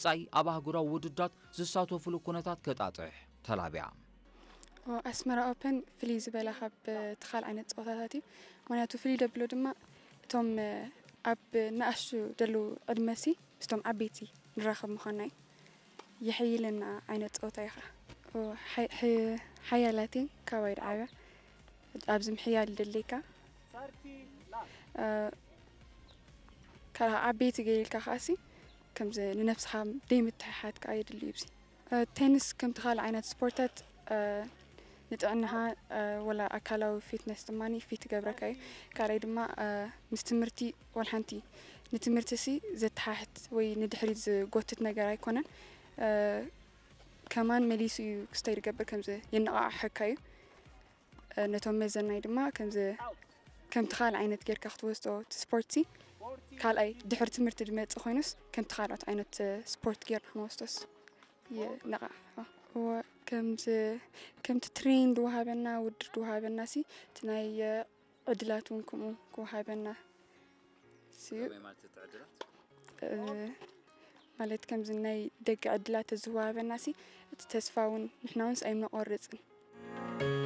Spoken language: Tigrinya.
ጻይ ኣብ ኣህጉራዊ ውድድራት ዝሳተፉሉ ኩነታት ከጣጥሕ ተላብያ። ኣስመራ ኦፐን ፍልይ ዝበለ ካብ እቲ ካልእ ዓይነት ፀወታታት እዩ። ምክንያቱ ፍልይ ደብሎ ድማ እቶም ኣብ ንኣሽቱ ደለዉ ዕድመሲ ምስቶም ዓበይቲ ንራኸብ ምዃንና እዩ። የሐይልና ዓይነት ፀወታ እዩ ከዓ። ሓያላት እየን ካባይ ድዓብያ ኣብዚ ምሕያል ደለይካ ካልኣ ዓበይቲ ገይርልካ ከዓሲ ከምዚ ንነብስኻ ደይምትሕሓት ከዓ የድሊ እዩ። ቴኒስ ከምቲ ካልእ ዓይነት ስፖርታት ንጥዕናኻ ወላ ኣካላዊ ፊትነስ ድማ ፊት ይገብረካ እዩ። ካልኣይ ድማ ምስ ትምህርቲ ወላ ሓንቲ ንትምህርቲ ሲ ዘተሓሕት ወይ ንድሕሪት ዝጎትት ነገር ኣይኮነን። ከማን መሊሱ እዩ ክስተይ ዝገብር ከምዚ የነቓቕሐካ እዩ። ነቶም መዘናይ ድማ ከምዚ ከምቲ ካልእ ዓይነት ጌርካ ክትወስዶ እቲ ስፖርት ካልኣይ ድሕሪ ትምህርቲ ዝመፅእ ኮይኑስ ከምቲ ካልኦት ዓይነት ስፖርት ጌርና ክንወስዶስ ይነቓ ከምዚ ከምቲ ትሬን ዝወሃበና ውድድር ዝወሃበና ሲ እቲ ናይ ዕድላት እውን ከምኡ ክወሃበና ስዩ ማለት ከምዚ ናይ ደገ ዕድላት ተዝወሃበና ሲ እቲ ተስፋ እውን ንሕና እውን ኣይምነቆርፅን።